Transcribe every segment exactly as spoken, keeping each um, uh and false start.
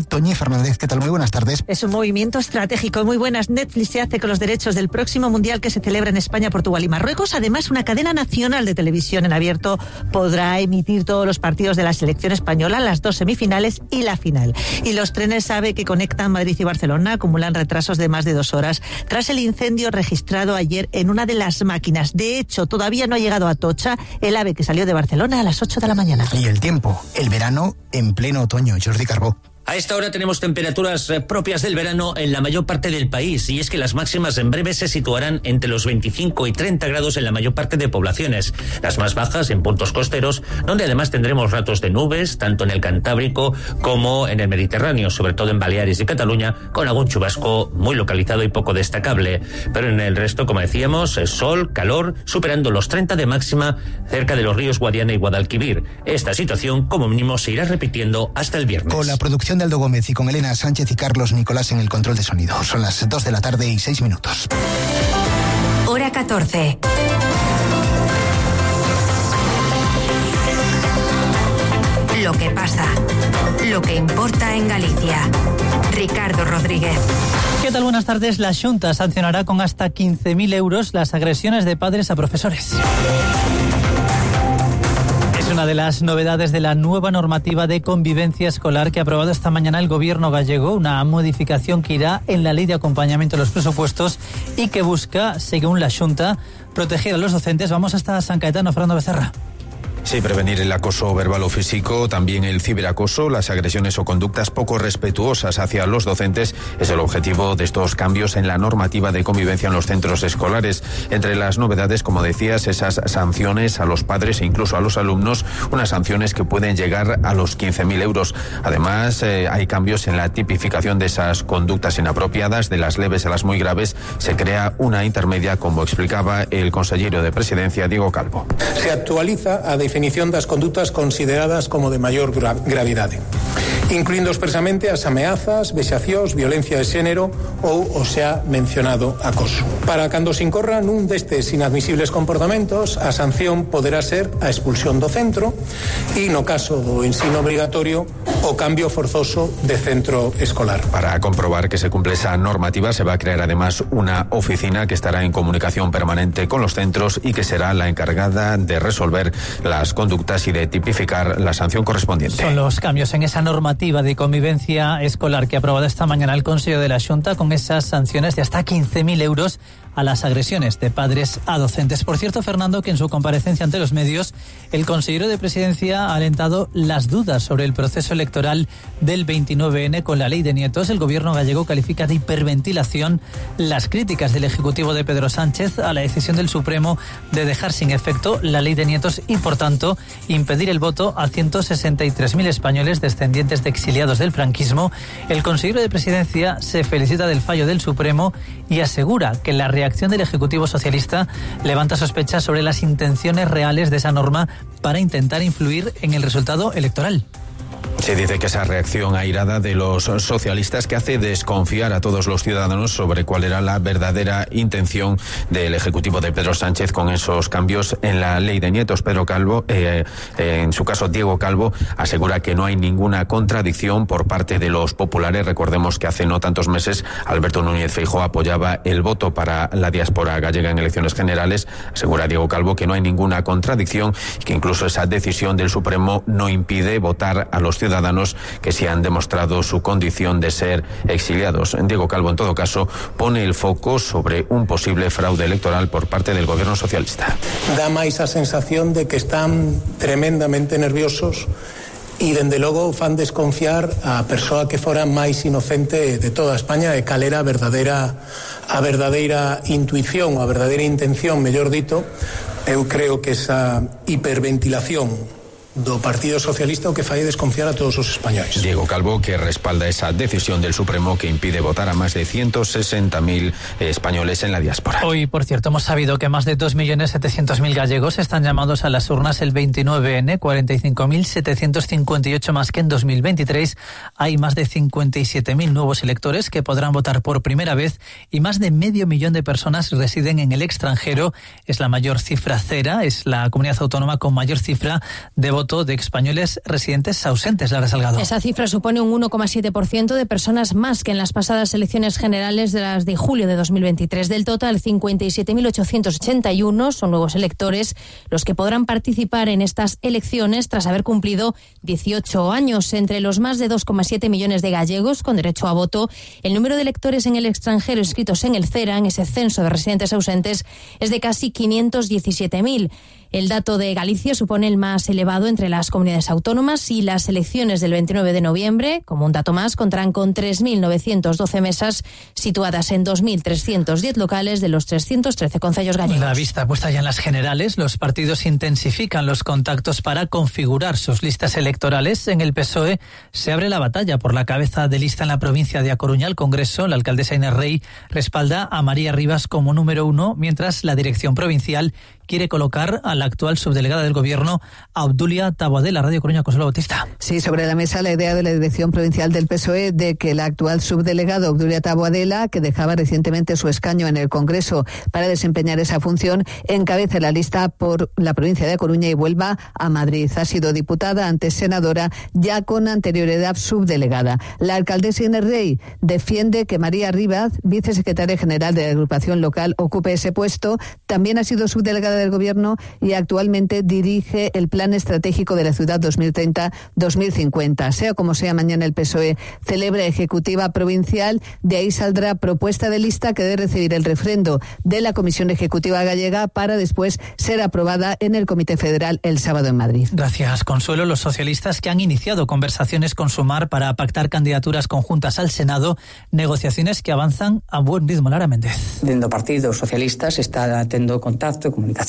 Toñi Fernández, ¿qué tal? Muy buenas tardes. Es un movimiento estratégico. Muy buenas. Netflix se hace con los derechos del próximo Mundial que se celebra en España, Portugal y Marruecos. Además, una cadena nacional de televisión en abierto podrá emitir todos los partidos de la selección española, las dos semifinales y la final. Y los trenes AVE que conectan Madrid y Barcelona acumulan retrasos de más de dos horas tras el incendio registrado ayer en una de las máquinas. De hecho, todavía no ha llegado a Atocha el AVE que salió de Barcelona a las ocho de la mañana. Y el tiempo, el verano en pleno otoño. Jordi Carbó. A esta hora tenemos temperaturas propias del verano en la mayor parte del país, y es que las máximas en breve se situarán entre los veinticinco y treinta grados en la mayor parte de poblaciones. Las más bajas en puntos costeros, donde además tendremos ratos de nubes, tanto en el Cantábrico como en el Mediterráneo, sobre todo en Baleares y Cataluña, con algún chubasco muy localizado y poco destacable. Pero en el resto, como decíamos, es sol, calor, superando los treinta de máxima cerca de los ríos Guadiana y Guadalquivir. Esta situación, como mínimo, se irá repitiendo hasta el viernes. Con la producción de Aldo Gómez y con Elena Sánchez y Carlos Nicolás en el control de sonido. Son las dos de la tarde y seis minutos. Hora catorce. Lo que pasa, lo que importa en Galicia. Ricardo Rodríguez. ¿Qué tal? Buenas tardes. La Xunta sancionará con hasta quince mil euros las agresiones de padres a profesores. Es una de las novedades de la nueva normativa de convivencia escolar que ha aprobado esta mañana el gobierno gallego, una modificación que irá en la ley de acompañamiento de los presupuestos y que busca, según la Xunta, proteger a los docentes. Vamos hasta San Caetano, Fernando Becerra. Sí, prevenir el acoso verbal o físico, también el ciberacoso, las agresiones o conductas poco respetuosas hacia los docentes es el objetivo de estos cambios en la normativa de convivencia en los centros escolares. Entre las novedades, como decías, esas sanciones a los padres e incluso a los alumnos, unas sanciones que pueden llegar a los quince mil euros. Además, eh, hay cambios en la tipificación de esas conductas inapropiadas, de las leves a las muy graves. Se crea una intermedia, como explicaba el consejero de Presidencia, Diego Calvo. Se actualiza a definición das condutas consideradas como de maior gra gravidade, incluindo expresamente as ameazas, vexacións, violencia de xénero ou o xa mencionado acoso. Para cando se incorra nun destes inadmisibles comportamentos, a sanción poderá ser a expulsión do centro e, no caso do ensino obrigatorio, o cambio forzoso de centro escolar. Para comprobar que se cumple esa normativa, se va a crear además una oficina que estará en comunicación permanente con los centros y que será la encargada de resolver las conductas y de tipificar la sanción correspondiente. Son los cambios en esa normativa de convivencia escolar que ha aprobado esta mañana el Consejo de la Xunta, con esas sanciones de hasta quince mil euros a las agresiones de padres a docentes. Por cierto, Fernando, que en su comparecencia ante los medios, el consejero de Presidencia ha alentado las dudas sobre el proceso electoral del veintinueve ene con la ley de nietos. El gobierno gallego califica de hiperventilación las críticas del Ejecutivo de Pedro Sánchez a la decisión del Supremo de dejar sin efecto la ley de nietos y, por tanto, impedir el voto a ciento sesenta y tres mil españoles descendientes de exiliados del franquismo. El consejero de Presidencia se felicita del fallo del Supremo y asegura que la reacción del Ejecutivo socialista levanta sospechas sobre las intenciones reales de esa norma para intentar influir en el resultado electoral. Se dice que esa reacción airada de los socialistas que hace desconfiar a todos los ciudadanos sobre cuál era la verdadera intención del Ejecutivo de Pedro Sánchez con esos cambios en la ley de nietos. Pedro Calvo, eh, eh, en su caso Diego Calvo, asegura que no hay ninguna contradicción por parte de los populares. Recordemos que hace no tantos meses Alberto Núñez Feijóo apoyaba el voto para la diáspora gallega en elecciones generales. Asegura Diego Calvo que no hay ninguna contradicción y que incluso esa decisión del Supremo no impide votar a los ciudadanos que se han demostrado su condición de ser exiliados. Diego Calvo, en todo caso, pone el foco sobre un posible fraude electoral por parte del gobierno socialista. Dá máis a sensación de que están tremendamente nerviosos e, dende logo, fan desconfiar a persoa que fora máis inocente de toda España e cal era a verdadeira, a verdadeira intuición, a verdadeira intención, mellor dito. Eu creo que esa hiperventilación do Partido Socialista o que fai desconfiar a todos os españoles. Diego Calvo, que respalda esa decisión del Supremo que impide votar a más de ciento sesenta mil españoles en la diáspora. Hoy, por cierto, hemos sabido que más de dos millones setecientos mil gallegos están llamados a las urnas el veintinueve ene, cuarenta y cinco mil setecientos cincuenta y ocho más que en dos mil veintitrés. Hay más de cincuenta y siete mil nuevos electores que podrán votar por primera vez y más de medio millón de personas residen en el extranjero. Es la mayor cifra cera, es la comunidad autónoma con mayor cifra de votos voto de españoles residentes ausentes. Lara Salgado. Esa cifra supone un uno coma siete por ciento de personas más que en las pasadas elecciones generales de las de julio de dos mil veintitrés. Del total, cincuenta y siete mil ochocientos ochenta y uno son nuevos electores los que podrán participar en estas elecciones tras haber cumplido dieciocho años. Entre los más de dos coma siete millones de gallegos con derecho a voto, el número de electores en el extranjero inscritos en el CERA, en ese censo de residentes ausentes, es de casi quinientos diecisiete mil. El dato de Galicia supone el más elevado entre las comunidades autónomas y las elecciones del veintinueve de noviembre, como un dato más, contarán con tres mil novecientos doce mesas situadas en dos mil trescientos diez locales de los trescientos trece concellos gallegos. La vista puesta ya en las generales, los partidos intensifican los contactos para configurar sus listas electorales. En el P S O E se abre la batalla por la cabeza de lista en la provincia de A Coruña. El Congreso, la alcaldesa Inés Rey, respalda a María Rivas como número uno, mientras la dirección provincial quiere colocar a la actual subdelegada del Gobierno, Obdulia Taboadela. Radio Coruña, Consuelo Bautista. Sí, sobre la mesa la idea de la dirección provincial del P S O E de que la actual subdelegada, Obdulia Taboadela, que dejaba recientemente su escaño en el Congreso para desempeñar esa función, encabece la lista por la provincia de A Coruña y vuelva a Madrid. Ha sido diputada, antes senadora, ya con anterioridad subdelegada. La alcaldesa Inés Rey defiende que María Rivas, vicesecretaria general de la agrupación local, ocupe ese puesto. También ha sido subdelegada del Gobierno y actualmente dirige el Plan Estratégico de la Ciudad dos mil treinta a dos mil cincuenta. Sea como sea, mañana el P S O E celebra ejecutiva provincial. De ahí saldrá propuesta de lista que debe recibir el refrendo de la Comisión Ejecutiva Gallega para después ser aprobada en el Comité Federal el sábado en Madrid. Gracias, Consuelo. Los socialistas que han iniciado conversaciones con Sumar para pactar candidaturas conjuntas al Senado, negociaciones que avanzan a buen ritmo. Lara Méndez. Dentro do Partido Socialista se está tendo contacto e comunicación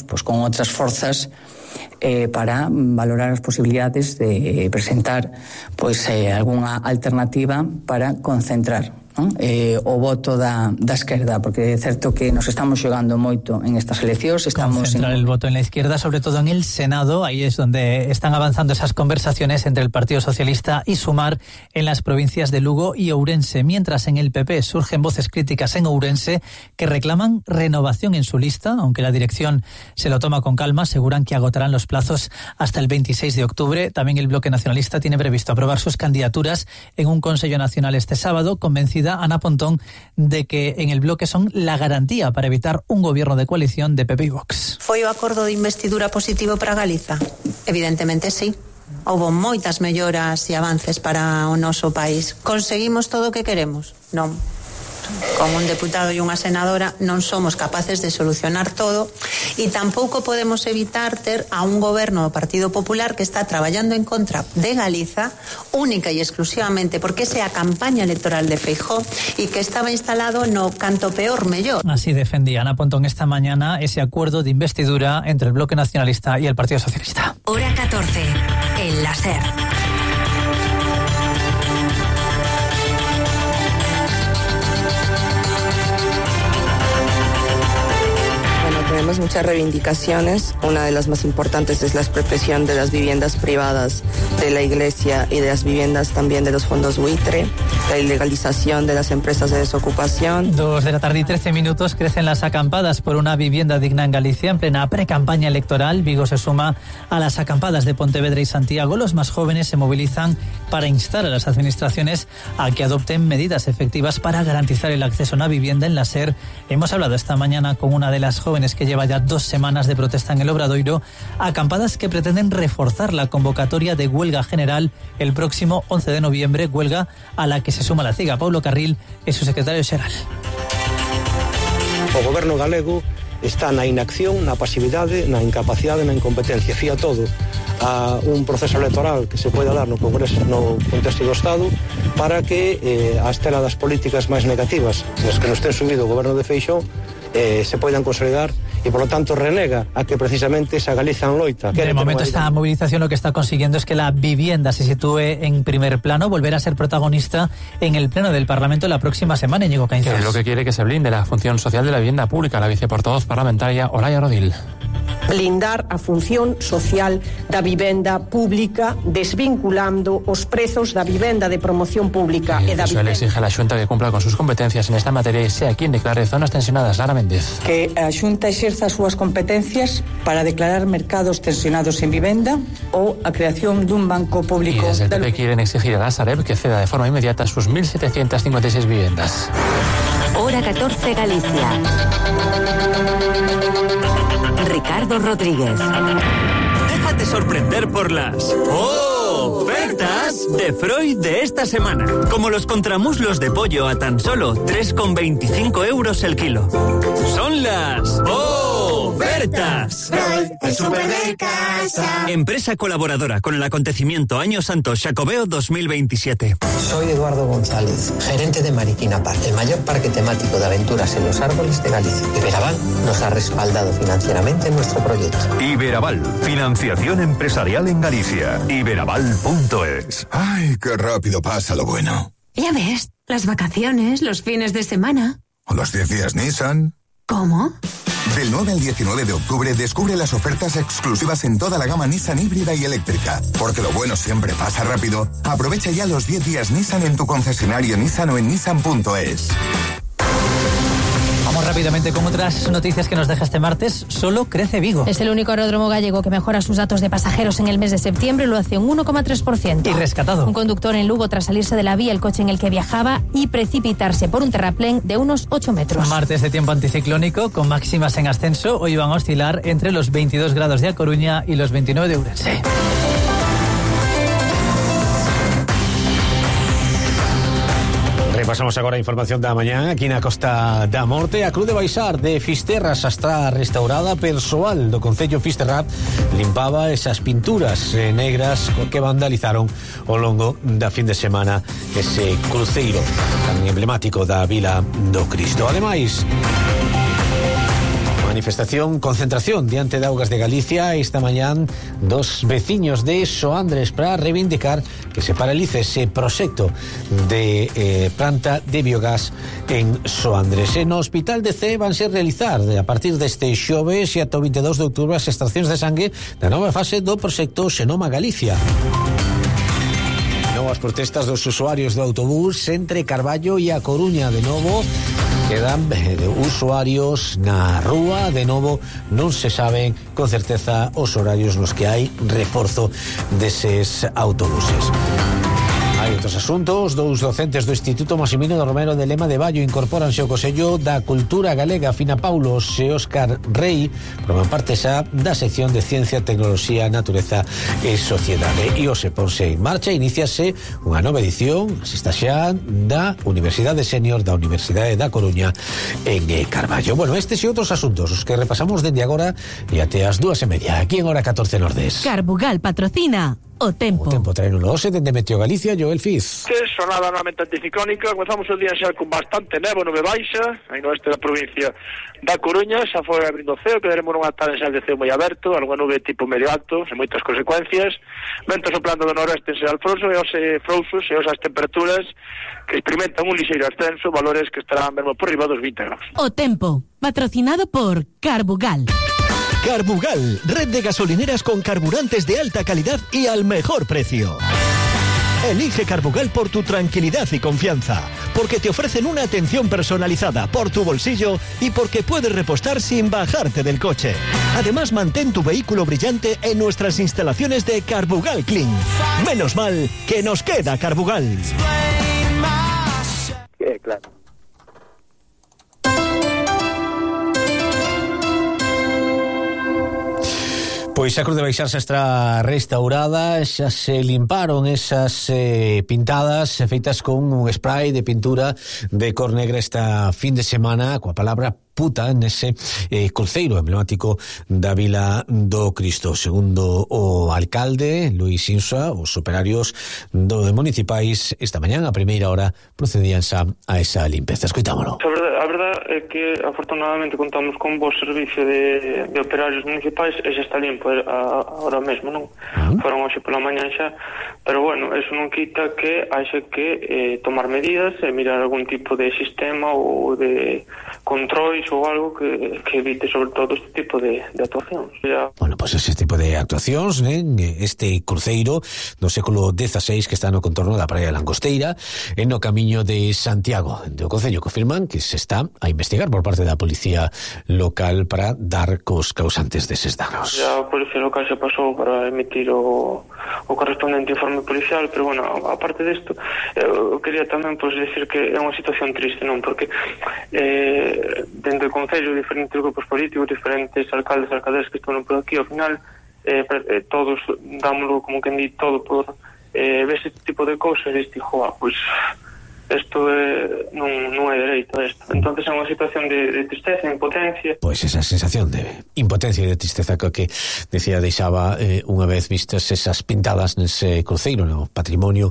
pues, con outras forzas eh, para valorar as posibilidades de presentar pues, eh, algunha alternativa para concentrar ¿no? eh, o voto da, da esquerda, porque é certo que nos estamos xogando moito en estas eleccións. Estamos concentrar en... el voto en la izquierda, sobre todo en el Senado. Ahí es donde están avanzando esas conversaciones entre el Partido Socialista y Sumar en las provincias de Lugo y Ourense, mientras en el P P surgen voces críticas en Ourense que reclaman renovación en su lista, aunque la dirección se lo toma con calma. Aseguran que agotarán los plazos hasta el veintiséis de octubre. También el Bloque Nacionalista tiene previsto aprobar sus candidaturas en un Consejo Nacional este sábado, convencida Ana Pontón de que en el bloque son la garantía para evitar un gobierno de coalición de P P y Vox. Foi o acordo de investidura positivo para Galiza? Evidentemente sí. Houbo moitas melloras e avances para o noso país. Conseguimos todo o que queremos? Non. Como un deputado e unha senadora non somos capaces de solucionar todo e tampouco podemos evitar ter a un goberno do Partido Popular que está traballando en contra de Galiza única e exclusivamente porque esa é a campaña electoral de Feijóo e que estaba instalado no canto peor mellor. Así defendía Ana Pontón esta mañana ese acuerdo de investidura entre el Bloque Nacionalista y el Partido Socialista. Hora catorce, en la SER. Tenemos muchas reivindicaciones. Una de las más importantes es la expropiación de las viviendas privadas de la Iglesia y de las viviendas también de los fondos buitre, la ilegalización de las empresas de desocupación. Dos de la tarde y trece minutos. Crecen las acampadas por una vivienda digna en Galicia en plena precampaña electoral. Vigo se suma a las acampadas de Pontevedra y Santiago. Los más jóvenes se movilizan para instar a las administraciones a que adopten medidas efectivas para garantizar el acceso a una vivienda en la SER. Hemos hablado esta mañana con una de las jóvenes que lleva ya dos semanas de protesta en el Obradoiro, acampadas que pretenden reforzar la convocatoria de huelga general el próximo once de noviembre, huelga a la que se suma la CIGA. Paulo Carril es su secretario xeral. O goberno galego está na inacción, na pasividade, na incapacidade, na incompetencia. Fía todo a un proceso electoral que se poida dar no Congreso, no contexto do Estado, para que eh, a estela das políticas máis negativas nas que nos ten subido o goberno de Feixóo eh, se poidan consolidar y por lo tanto renega a que precisamente esa Galiza en loita. De momento esta movilización lo que está consiguiendo es que la vivienda se sitúe en primer plano, volver a ser protagonista en el pleno del Parlamento la próxima semana. Íñigo Caínzas. Es lo que quiere que se blinde la función social de la vivienda pública, la viceportavoz parlamentaria Olaya Rodil. blindar a función social da vivenda pública, desvinculando os prezos da vivenda de promoción pública y e da vivenda. Exige a la Xunta que cumpla con sus competencias en esta materia y sea quien declare zonas tensionadas. Lara Méndez. Que a Xunta exerza as súas competencias para declarar mercados tensionados en vivenda ou a creación dun banco público. Y desde el P P quieren exigir a la Sareb que ceda de forma inmediata sus mil setecientas cincuenta y seis viviendas. Hora catorce Galicia. Ricardo Rodríguez. Déjate sorprender por las ofertas de Freud de esta semana. Como los contramuslos de pollo a tan solo tres con veinticinco euros el kilo. Son las ofertas. Freud, el súper de casa. Empresa colaboradora con el acontecimiento Año Santo Xacobeo dos mil veintisiete. Soy Eduardo González, gerente de Mariquina Park, el mayor parque temático de aventuras en los árboles de Galicia. Iberaval nos ha respaldado financieramente en nuestro proyecto. Iberaval, financiación empresarial en Galicia. Iberaval punto es. Ay, qué rápido pasa lo bueno. Ya ves, las vacaciones, los fines de semana. ¿O los diez días Nissan? ¿Cómo? Del nueve al diecinueve de octubre descubre las ofertas exclusivas en toda la gama Nissan híbrida y eléctrica. Porque lo bueno siempre pasa rápido. Aprovecha ya los diez días Nissan en tu concesionario Nissan o en Nissan punto es. Vamos rápidamente con otras noticias que nos deja este martes. Solo crece Vigo. Es el único aeródromo gallego que mejora sus datos de pasajeros en el mes de septiembre. Lo hace un uno coma tres por ciento. Y rescatado. Un conductor en Lugo tras salirse de la vía el coche en el que viajaba y precipitarse por un terraplén de unos ocho metros. Martes de tiempo anticiclónico con máximas en ascenso. Hoy van a oscilar entre los veintidós grados de A Coruña y los veintinueve de Ourense. Repasamos agora a información da mañá. Aquí na Costa da Morte, a Cruz de Baixar de Fisterra xa está restaurada. Persoal do Concello Fisterra limpaba esas pinturas negras que vandalizaron ao longo da fin de semana ese cruceiro tan emblemático da Vila do Cristo. Ademais, manifestación, concentración diante de Augas de Galicia esta mañán dos veciños de Soandres para reivindicar que se paralice ese proxecto de eh, planta de biogás en Soandres. En o Hospital de C van ser realizar a partir deste xoves e ata o veintidós de outubro as extraccións de sangue da nova fase do proxecto Xenoma Galicia. Novas protestas dos usuarios do autobús entre Carballo e A Coruña. De novo quedan eh, usuarios na rúa. De novo non se saben con certeza os horarios nos que hai reforzo deses autobuses. Hai outros asuntos. Dous docentes do Instituto Maximino de Romero de Lema de Baio incorporanse ao Consello da Cultura Galega. Fina Paulos e Óscar Rei forman parte xa da sección de Ciencia, Tecnoloxía, Natureza e Sociedade. E hoxe ponse en marcha, iníciase unha nova edición, se está xa, da Universidade Senior da Universidade da Coruña en Carballo. Bueno, estes e outros asuntos os que repasamos dende agora e até as dúas e media aquí en Hora catorce Nordés. Carbugal patrocina O Tempo. O Tempo traenolo hoxe dende Meteo Galicia, Joel Fiz. Sonada novamente anticiclónica. Comezamos o día xa con bastante nevo, nube baixa aí no oeste da provincia da Coruña. Xa foi abrindo o ceo, quedaremos nunha tarde xa de ceo moi aberto, algunha nube tipo medio alto, sen moitas consecuencias, vento soplando do noroeste en Alfonso e os frouxos e as temperaturas que experimentan un lixeiro ascenso, valores que estarán mesmo por riba dos vinte graus. O Tempo, patrocinado por Carbugal. Carbugal, red de gasolineras con carburantes de alta calidad y al mejor precio. Elige Carbugal por tu tranquilidad y confianza, porque te ofrecen una atención personalizada por tu bolsillo y porque puedes repostar sin bajarte del coche. Además, mantén tu vehículo brillante en nuestras instalaciones de Carbugal Clean. Menos mal que nos queda Carbugal. Eh, claro. Pois a Cruz de Baixar xa está restaurada, xa se limparon esas eh, pintadas feitas con un spray de pintura de cor negra esta fin de semana coa palabra puta nese eh, cruceiro emblemático da Vila do Cristo. Segundo o alcalde Luis Insua, os operarios do municipais esta mañán a primeira hora procedían xa a esa limpeza. Escoitámolo. Sobre a verdad é que afortunadamente contamos con un bo servicio de, de operarios municipais e xa está limpo a, ahora mesmo, non? Uh-huh. Foron hoxe pola mañan xa, pero bueno, eso non quita que haxe que eh, tomar medidas e mirar algún tipo de sistema ou de controis ou algo que, que evite sobre todo este tipo de, de actuacións. Ya... Bueno, pois pues ese tipo de actuacións, né? Este cruceiro do século dieciséis que está no contorno da Praia de Langosteira e no camiño de Santiago. Do Concello confirman que se está a investigar por parte da Policía Local para dar cos causantes deses danos. Ya a Policía Local se pasou para emitir o, o correspondente informe policial, pero bueno, aparte desto, eu quería tamén pues, decir que é unha situación triste, non? Porque eh, dentro do Concello, diferentes grupos políticos, diferentes alcaldes e alcaldes que están por aquí, ao final, eh, todos dámoslo como que di todo por eh, ver este tipo de cousas e diste, joa, pois... Isto é, non, non é dereito a isto. Entonces é unha situación de, de tristeza, de impotencia. Pois esa sensación de impotencia e de tristeza que decía deixaba eh, unha vez vistas esas pintadas nese cruceiro no patrimonio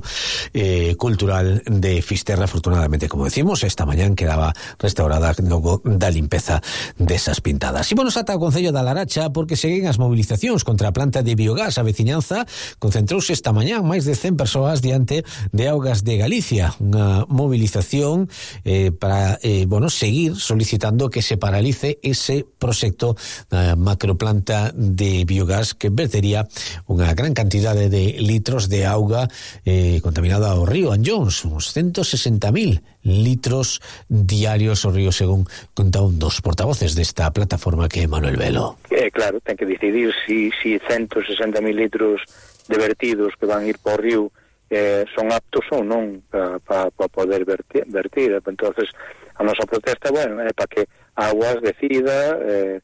eh, cultural de Fisterra. Afortunadamente, como decimos, esta mañán quedaba restaurada logo da limpeza desas pintadas. E bueno, ata o Concello da Laracha porque seguen as movilizacións contra a planta de biogás. A veciñanza concentrouse esta mañán máis de cen persoas diante de Augas de Galicia, unha movilización eh, para eh, bueno, seguir solicitando que se paralice ese proxecto da uh, macroplanta de biogás que vertería unha gran cantidade de litros de auga eh, contaminada ao río Anllóns, uns ciento sesenta mil litros diarios ao río, según conta un dos portavoces desta plataforma que é Manuel Velo. Eh, claro, ten que decidir si, si ciento sesenta mil litros de vertidos que van ir por río Eh, son aptos ou non para pa, pa poder vertir, vertir. Entonces a nosa protesta, bueno, é para que Aguas decida eh,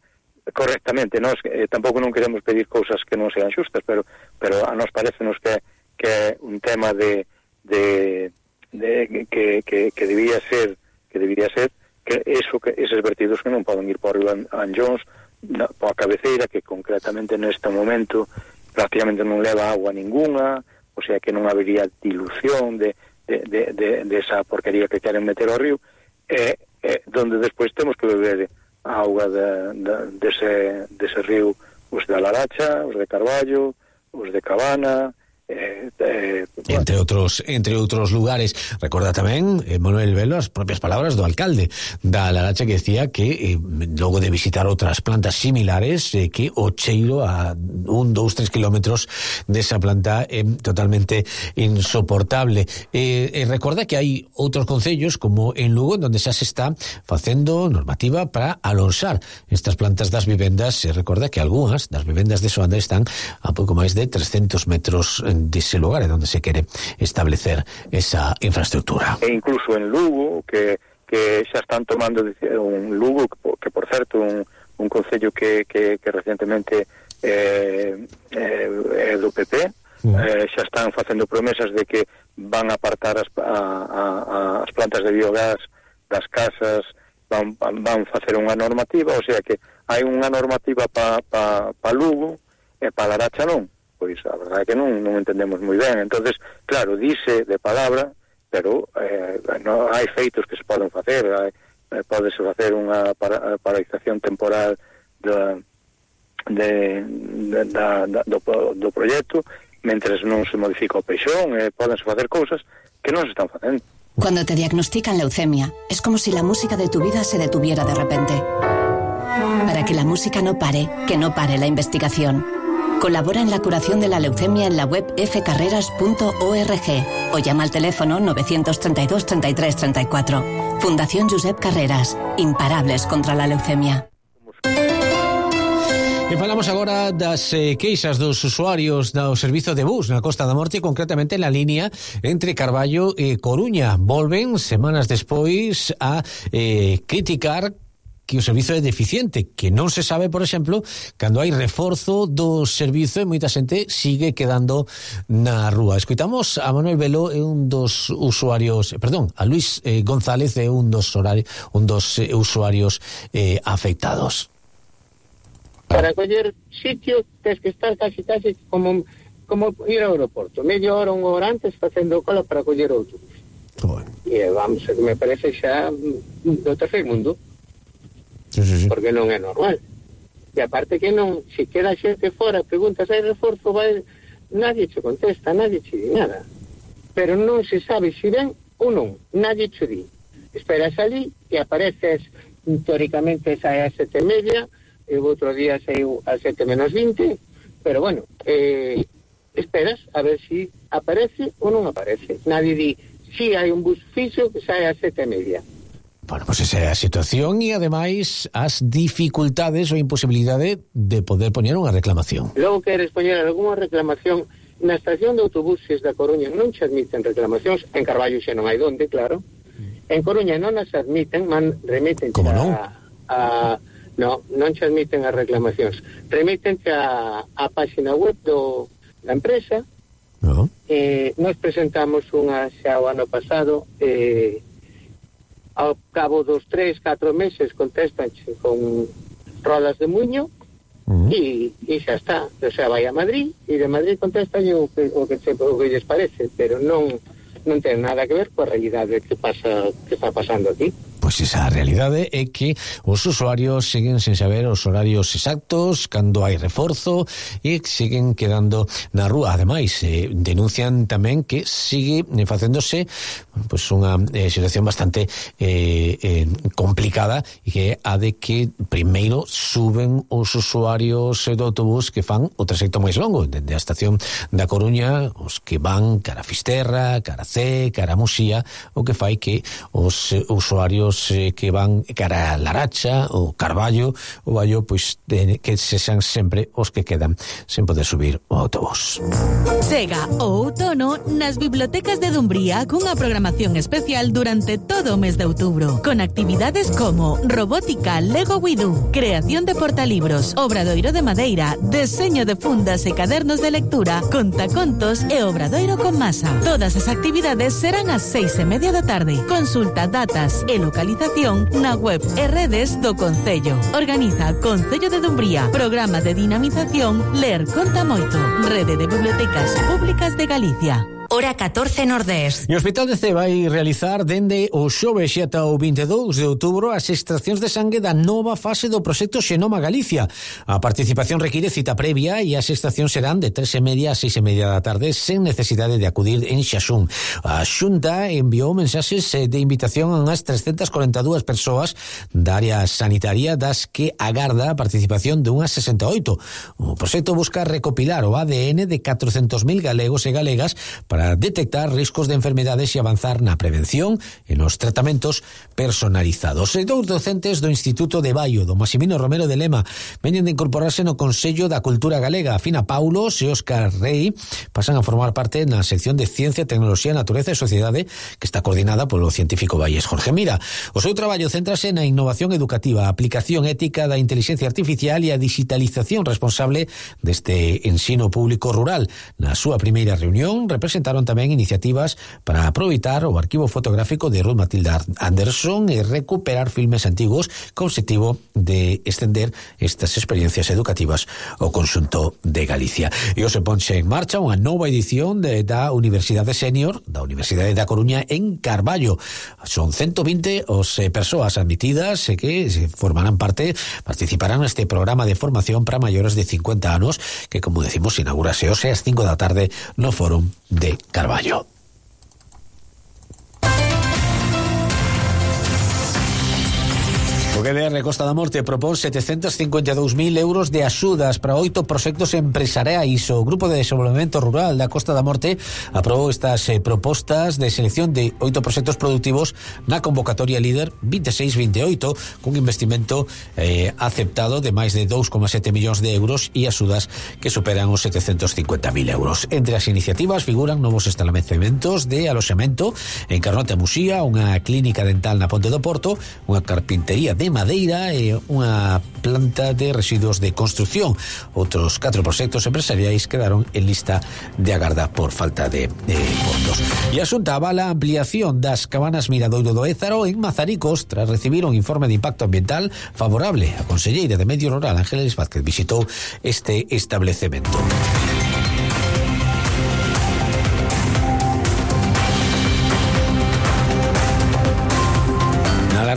correctamente. Nos eh, tampouco non queremos pedir cousas que non sean xustas, pero pero a nos parecenos que que é un tema de de, de que, que, que debía ser que debía ser que eso que eses vertidos que non poden ir por Anllóns, por a cabeceira, que concretamente neste momento prácticamente non leva agua ninguna. O sea que non habería dilución de, de, de, de, de esa porquería que queren meter ao río, e eh, donde despois temos que beber a auga de, de, dese, dese río, os de Laracha, os de Carballo, os de Cabana, Eh, eh, bueno. entre outros entre outros lugares. Recorda tamén eh, Manuel Velo as propias palabras do alcalde da Laracha, que decía que eh, logo de visitar outras plantas similares eh, que o cheiro a un, dous, tres kilómetros desa planta é eh, totalmente insoportable. Eh, eh, recorda que hai outros concellos como en Lugo, onde xa se está facendo normativa para alonxar estas plantas das vivendas. E recorda que algunhas das vivendas de Soanda están a pouco máis de trescentos metros dese lugar onde se quere establecer esa infraestructura. E incluso en Lugo, que, que xa están tomando un Lugo, que por certo un, un concello que, que, que recientemente eh, eh, é do P P, mm. eh, xa están facendo promesas de que van a apartar as, a, a, as plantas de biogás das casas, van, van facer unha normativa, o sea que hai unha normativa para pa, pa Lugo e para Laracha non. Pois a verdade é que non, non entendemos moi ben. Entonces, claro, dice de palabra, pero eh, no, hai feitos que se poden facer. Hai, eh, pódese facer unha para, paralización temporal de, de, de, da, da, do, do proxecto, mentres non se modifica o peixón, eh, pódense facer cousas que non se están facendo. Cuando te diagnostican leucemia, es como si la música de tu vida se detuviera de repente. Para que la música no pare, que no pare la investigación. Colabora en la curación de la leucemia en la web f carreras punto org o llama al teléfono nueve tres dos, treinta y tres, treinta y cuatro. Fundación Josep Carreras. Imparables contra la leucemia. E falamos agora das eh, queixas dos usuarios do servizo de bus na Costa da Morte, concretamente na línea entre Carballo e Coruña. Volven semanas despois a eh, criticar que o servizo é deficiente, que non se sabe, por exemplo, cando hai reforzo do servizo e moita xente sigue quedando na rúa. Escoitamos a Manuel Velo, é un dos usuarios, perdón, a Luis eh, González, é un dos horari, un dos eh, usuarios eh, afectados. Para coller sitio tens que estar casi casi como como ir ao aeroporto, media hora, unha hora antes facendo cola para coller outro. e vamos, que me parece xa do terceiro mundo. Sí, sí, sí. Porque non é normal. E aparte que non, se queda xente fora, preguntas, hai reforzo, vai, nadie che contesta, nadie che di nada. Pero non se sabe se ven ou non, nadie che di. Esperas ali e apareces, teóricamente sae a sete e media, e o outro día saiu a sete menos vinte, pero bueno, eh, esperas a ver se si aparece ou non aparece. Nadie di, si hai un bus fixo que sae a sete e media. Bueno, pues esa é a situación e ademais as dificultades ou imposibilidade de poder poñer unha reclamación. Logo queres poñer algunha reclamación na estación de autobuses da Coruña, non se admiten reclamacións, en Carballo xa non hai donde, claro. En Coruña non as admiten, man, remiten Como non? A, a no, non se admiten as reclamacións. Remítente a, a página web do, da empresa. No. Eh, nos presentamos unha xa o ano pasado, eh, ao cabo dos tres, catro meses contestanche con rodas de muño uh-huh. e, e xa está. O sea, vai a Madrid e de Madrid contestan o que, o que, se, o que lles parece, pero non non ten nada que ver coa realidade que pasa que está pasando aquí. Pois esa realidade é que os usuarios siguen sen saber os horarios exactos, cando hai reforzo, e siguen quedando na rúa. Ademais, eh, denuncian tamén que sigue facéndose pois unha eh, situación bastante eh, eh, complicada, e que a de que primeiro suben os usuarios do autobús que fan o trayecto máis longo, dende a estación da Coruña, os que van cara a Fisterra, cara a C, cara a Muxía, o que fai que os eh, usuarios que van cara a Laracha ou Carballo ou Baio, pois de, que se xan sempre os que quedan sen poder subir o autobús. Chega o outono nas bibliotecas de Dumbría cunha programación especial durante todo o mes de outubro, con actividades como robótica Lego Widú, creación de portalibros, obradoiro de madeira, deseño de fundas e cadernos de lectura, contacontos e obradoiro con masa. Todas as actividades serán ás seis e media da tarde. Consulta datas e localización na web e redes do Concello. Organiza Concello de Dumbría. Programa de dinamización Ler Conta Moito. Rede de Bibliotecas Públicas de Galicia. Hora catorce Nordés. E o Hospital de Cee vai realizar dende o xoves e ata o vinte e dous de outubro as extraccións de sangue da nova fase do proxecto Xenoma Galicia. A participación require cita previa e as extraccións serán de tres e media a seis e media da tarde sen necesidade de acudir en Xaxún. A Xunta enviou mensaxes de invitación a unhas trescentas corenta e dúas persoas da área sanitaria, das que agarda a participación de unhas sesenta e oito. O proxecto busca recopilar o A D N de catrocentos mil galegos e galegas para para detectar riscos de enfermedades e avanzar na prevención e nos tratamentos personalizados. E dous docentes do Instituto de Baio, do Maximino Romero de Lema, veñen de incorporarse no Consello da Cultura Galega. Fina Paulos e Óscar Rey pasan a formar parte na sección de Ciencia, Tecnoloxía, Natureza e Sociedade, que está coordinada polo científico baiés Jorge Mira. O seu traballo céntrase na innovación educativa, a aplicación ética da inteligencia artificial e a digitalización responsable deste ensino público rural. Na súa primeira reunión representaron tamén iniciativas para aproveitar o arquivo fotográfico de Ruth Matilda Anderson e recuperar filmes antigos co objetivo de extender estas experiencias educativas ao conxunto de Galicia. E hoxe ponxe en marcha unha nova edición de, da Universidade Senior da Universidade da Coruña en Carballo. Son ciento vinte os eh, persoas admitidas e que se formarán parte, participarán neste programa de formación para maiores de cincuenta anos que, como decimos, inaugurase hoxe ás cinco da tarde no Fórum de Carballo. O G D R Costa da Morte propón setecentos cincuenta e dous mil euros de axudas para oito proxectos empresariais. O Grupo de Desenvolvemento Rural da Costa da Morte aprobou estas eh, propostas de selección de oito proxectos productivos na convocatoria líder veintiséis veintiocho, cun investimento eh, aceptado de máis de dous coma sete millóns de euros e axudas que superan os setecentos cincuenta mil euros. Entre as iniciativas figuran novos estabelecementos de aloxamento en Carnota e Muxía, unha clínica dental na Ponte do Porto, unha carpintería de madeira e unha planta de residuos de construción. Outros catro proxectos empresariais quedaron en lista de agarda por falta de, de fondos. E a Xunta avala a ampliación das cabanas Miradoiro do Ézaro en Mazaricos tras recibir un informe de impacto ambiental favorable. A conselleira de Medio Rural, Ángeles Vázquez, visitou este establecemento.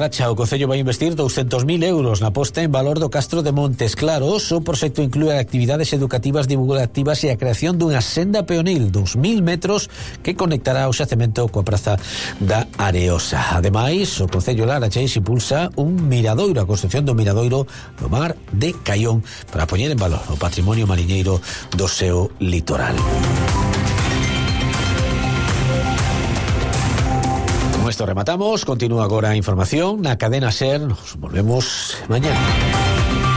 Laracha, o Concello vai investir douscentos mil euros na posta en valor do Castro de Montes Claros. O proxecto inclúe actividades educativas, divulgativas e a creación dunha senda peonil dos mil metros que conectará o xacemento coa praza da Areosa. Ademais, o Concello Laracha impulsa un miradoiro, a construcción do miradoiro no mar de Caión para poñer en valor o patrimonio mariñeiro do seu litoral. Con esto rematamos. Continúa agora a información na cadena SER. Nos volvemos mañana.